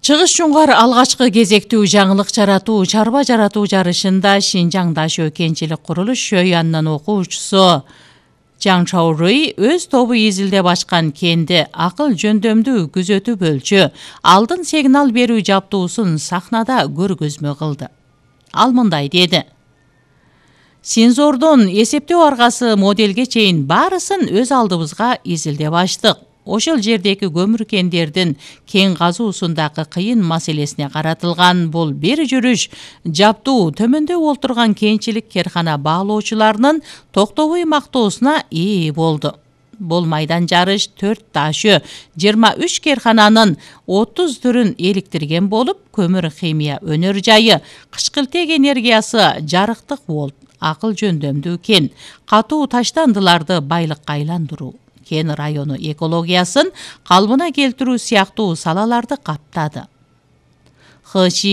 Чыгыш Жуңгар алгачкы кезектүү жаңылык жаратуу, чарба жаратуу жарышында Шинжаң Дашөө кенчилик курулуш шөйянынын окуучусу Жаң Чаурый өз тобу изилдеп ачкан кенди акыл жөндөмдүү күзөтүү бөлчү алдын сигнал берүү жабдуусун сахнада көргөзмө кылды. Ал мындай деди: Сензордон эсептөө аргасы моделге чейин баарысын өз алдыбызга изилдеп ачтык. Ошол жердеги көмүр кендердин кен казуусундагы кыйын маселесине каратылган бул бир жүрүш жабдуу төмөндө олтурган кенчилик керкана баалоочуларынын токтобой мактоосуна ээ болду. Бул майдан жарыш 4 дашөө 23 керкананын 30 түрүн эликтирген болуп, көмүр химия өнөр жайы, кычкылтек энергиясы, жарыктык волт, акыл жөндөмдүү кен, катуу таштандыларды байлыкка айландыруу, кен району экологиясын калыбына келтирүү сыяктуу салаларды каптады.